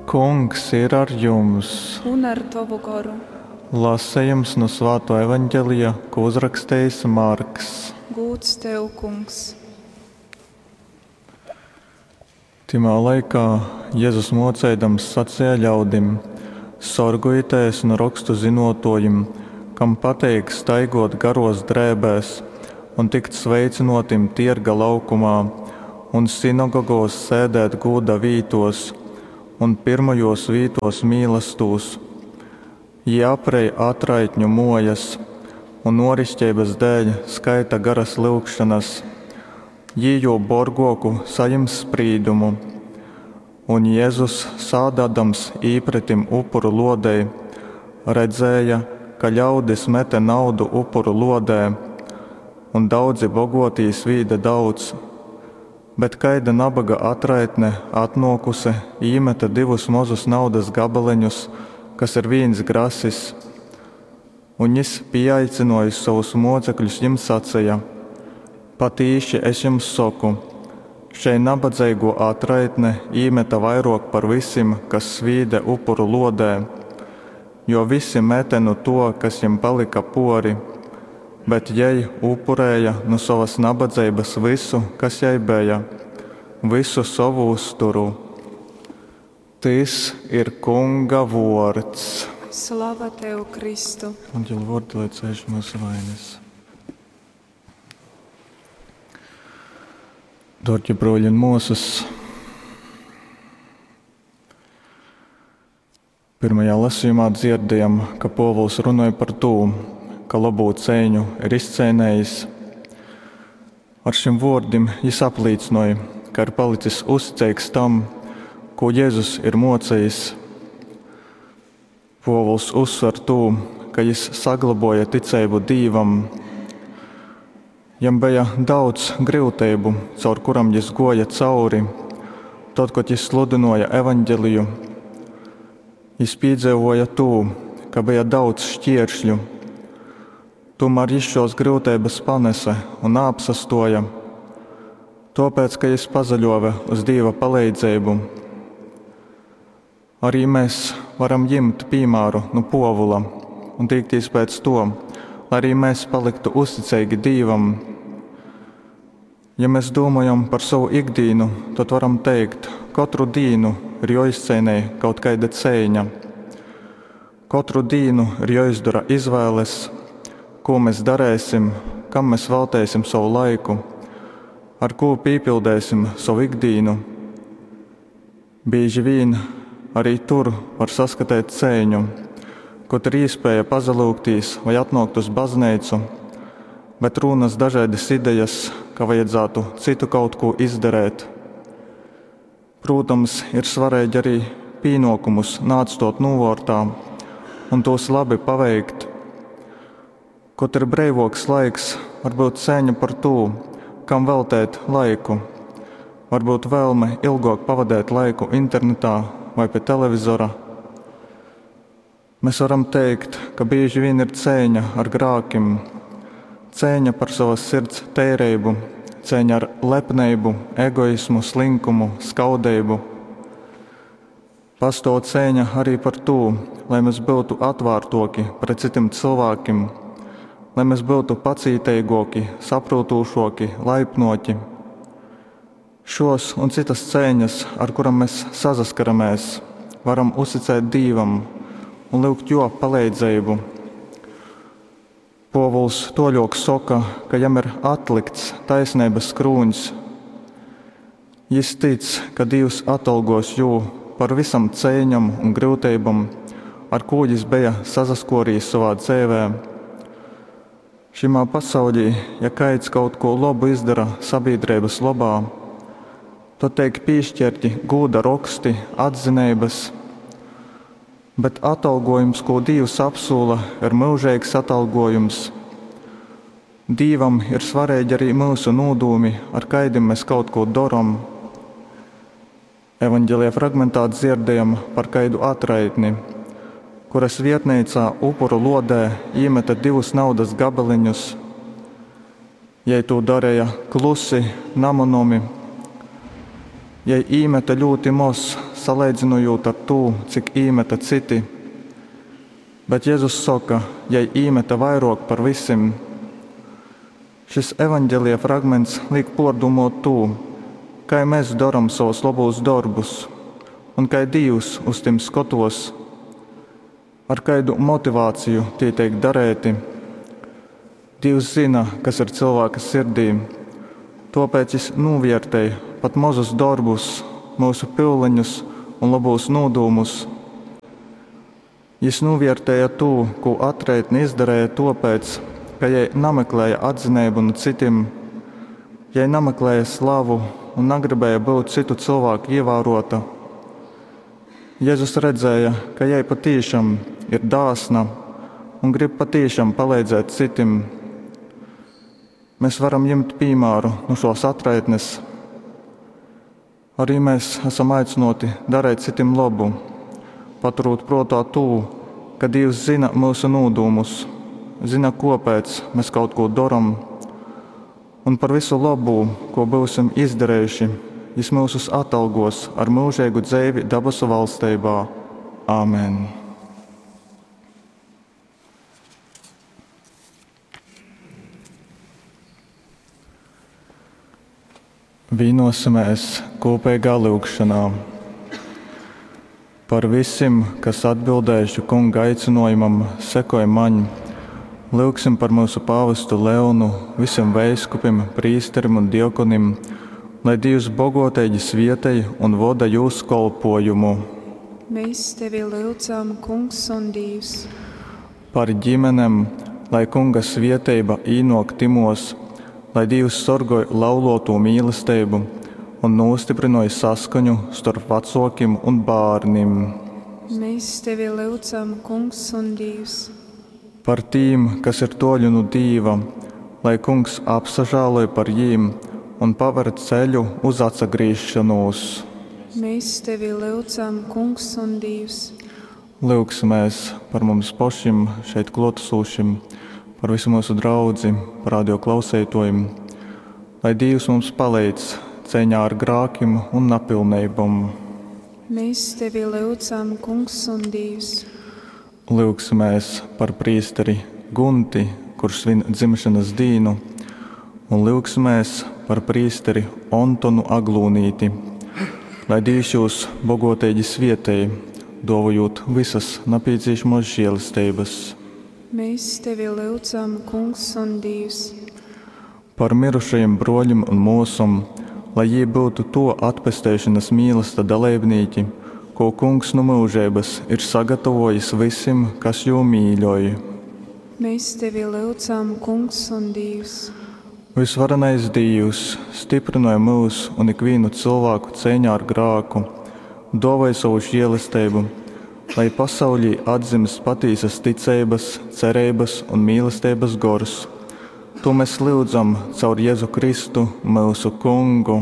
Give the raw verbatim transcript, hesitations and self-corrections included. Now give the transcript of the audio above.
Kungs ir ar jums! Un ar tovu goru. Lasejums nu Svātō Evaņgelija, ko uzrakstejis Marks. Gūds tev, Kungs! Tymā laikā Jezus mōceidams saceja ļaudim, Sorgojitēs nu rokstu zynōtōjim, kam pateik staigōt garōs drēbēs un tikt sveicynōtim tierga laukumā un sinagogōs sēdēt gūda vītōs un pyrmajōs vītōs mīlastūs. Jī aprej atraitņu mōjas un ōriškeibas dēļ skaita garas lyugšonas. Jī jū borgōku sajims sprīdumu. Un Jezus, sādādams īpretim upuru lōdei, redzēja, ka ļaudis mete naudu upuru lōdē, un daudzi bogōtī svīde daudz. Bet kaida naboga atraitne, atnōkuse, īmete divus mozus naudas gabaleņus, kas ir vīns grasis. Un jys, pīaicynōjis sovus mōcekļus, jim saceja, Patīši, es jums soku, šei nabadzeigō atraitne īmete vairōk par vysim, kas svīde upuru lōdē. Jo vysi mete nu tō, kas jim palyka pōri, bet jei upurēja nu sovas nabadzeibas vysu, kas jai beja, vysu sovu uzturu. Tys ir Kunga vōrds. Slava tev, Kristu! Evaņģeļa vōrdi, lai cēš myusu vainas. Dārgie brōļi un māsas, pirmajā lasījumā dzirdējam, ka Pōvuls runoj par tū, ka lobū ceiņu ir izceinējis. Ar šim vōrdim jis aplīcynoj, ka ir palicis uzticeigs tam, ko Jezus ir mocējis. Pōvuls uzsver tū, ka jis sagloboja ticeibu Dīvam. Jam beja daudz gryuteibu, caur kuram jis goja cauri, tod, kod jis sludinoja evaņgeliju. Jis pīdzeivoja tū, ka beja daudz šķieršļu. Tomēr jis šos gryuteibas panese un naapsastoja, tōpēc, ka jis pazaļōve uz Dīva paleidzeibu. Arī mēs varam jimt pīmāru nu Pōvula un tīktīs pēc to, lai arī mēs paliktu uzticeigi Dīvam. Ja mēs domājam par savu ikdīnu, tad varam teikt, katru dīnu ir joizceinej kaut kaida ceiņa. Katru dīnu ir joizdara izvēles, ko mēs darēsim, kam mēs veltēsim savu laiku, ar ko pīpildēsim savu ikdīnu. Bieži vien arī tur var saskatīt ceiņu, kod ir iespēja pazalūgtīs vai atnākt uz baznīcu, bet rūnas dažādas idejas, ka vajadzētu citu kaut ko izdarēt. Protams, ir svarīgi arī pienākumus neatstot novārtā un tos labi paveikt. Kod ir breivoks laiks, varbūt cēņa par to, kam veltēt laiku. Varbūt vēlme ilgāk pavadīt laiku internetā vai pie televizora. Mēs varam teikt, ka bieži vien ir cēņa ar grākim, cēņa par savas sirds tērību, cēņa ar lepnību, egoismu, slinkumu, skaudību. Pastāv cēņa arī par to, lai mēs būtu atvērtoki pret citiem cilvēkiem, lai mēs būtu pacītīgāki, saprotošāki, laipnoki. Šos un citas cēņas, ar kurām mēs sasaskaramies, varam uzticēt Dīvam un lūgt jo palīdzību. Pōvuls toļok soka, ka jam ir atlikts taisnības krūņs. Jis tic, ka Dievs atalgos jū par visam ceiņam un grūtībam, ar ko jis bija sasaskorījis savā dzīvē. Šimā pasaulī, ja kaids kaut ko labu izdara sabiedrības labā, tad tiek piešķirti gūda roksti, atzinības, bet atalgojums, ko Dievs apsūla, ir mūžīgs atalgojums. Dīvam ir svarīgi arī mūsu nūdūmi, ar kaidim mēs kaut ko daram. Evanģelija fragmentā dzirdējam par kaidu atraitni, kuras vietnīcā upuru lodē iemeta divus naudas gabaliņus. Jai to darīja klusi, namanomi. Jai īmeta ļoti maz saleidzynojūt ar tū, cik īmete cyti. Bet Jezus soka, jei īmete vairōk par vysim. Šys Evaņgelija fragments līk pōrdūmōt tū, kai mes doram sovus lobūs dorbus un kai Dīvs uz tim skotōs. Ar kaidu motivāciju tī teik dareiti? Dīvs zyna, kas ir cylvāka sirdī, tōpēc jys nūvērtej pat mozus dorbus, myusu pyuleņus un lobūs nūdūmus. Jys nūvērtēja tū, kū atraitne izdarēja tōpēc, ka jei nameklēja atzineibu nu cytim. Jei nameklēja slavu un nagribēja byut cytu cylvāku ievārota. Jezus redzēja, ka jei patīšam ir dāsna un grib patīšam palīdzēt cytim. Mēs varam ņemt pīmāru nu šōs atraitnes. Arī mēs esam aicināti darīt citim labu, paturūt prātā tū, ka Dievs zina mūsu nūdūmus, zina, kāpēc mēs kaut ko darām, un par visu labū, ko būsim izdarījuši, Jis mūsus atalgos ar mūžīgu dzīvi dabasu valstībā. Āmen! Vienosimies kopīgā lūgšanā par visiem, kas atbildējuši kunga aicinājumam, sekoj maņ. Lūgsim par mūsu pāvestu Leonu, visiem veiskupim, prīsterim un diakonim, lai Dievs bogoteigi svietej un voda jūs kolpojumu. Mēs tevi lūdzam, Kungs un Dievs. Par ģimenem, lai kunga svieteiba īnok timos, lai Dievs sorgoj laulotū mīlestību un nostiprinoja saskaņu starp vecākiem un bērniem. Mēs tevi lūdzam, Kungs un Dievs. Par tīm, kas ir toļu nu Dīva, lai Kungs apsažāloj par jīm un paver ceļu uz atsagriešanos. Mēs tevi lūdzam, Kungs un Dievs. Lūgsimies par mums pašiem šeit klātesošiem, par visu mūsu draudzi, par radio klausītājiem, lai Dievs mums palīdz cīņā ar grākiem un napilnībām. Mēs tevi lūdzam, Kungs un Dievs. Lūgsimies par prīsteri Gunti, kurš svin dzimšanas dīnu, un lūgsimies par prīsteri Antonu Aglūnīti, lai Dievs jūs bogotīgi svietēj, dovojot visas nepieciešamos žēlestības. Mēs tevi lūdzam, Kungs un Dievs. Par mirušajiem broļiem un mūsam, lai jī būtu to atpesteišanas mīlesta dalībnieki, ko Kungs no mūžības ir sagatavojis visiem, kas jū mīļoj. Mēs tevi lūdzam, Kungs un Dievs. Visvarenais Dievs, stiprināja mūs un ikvienu cilvēku cīņā ar grāku, dāvāja savu žēlastību, lai pasaulī atzimst patīsas ticības, cerības un mīlestības gors. To mēs lūdzam caur Jēzu Kristu, mūsu Kungu.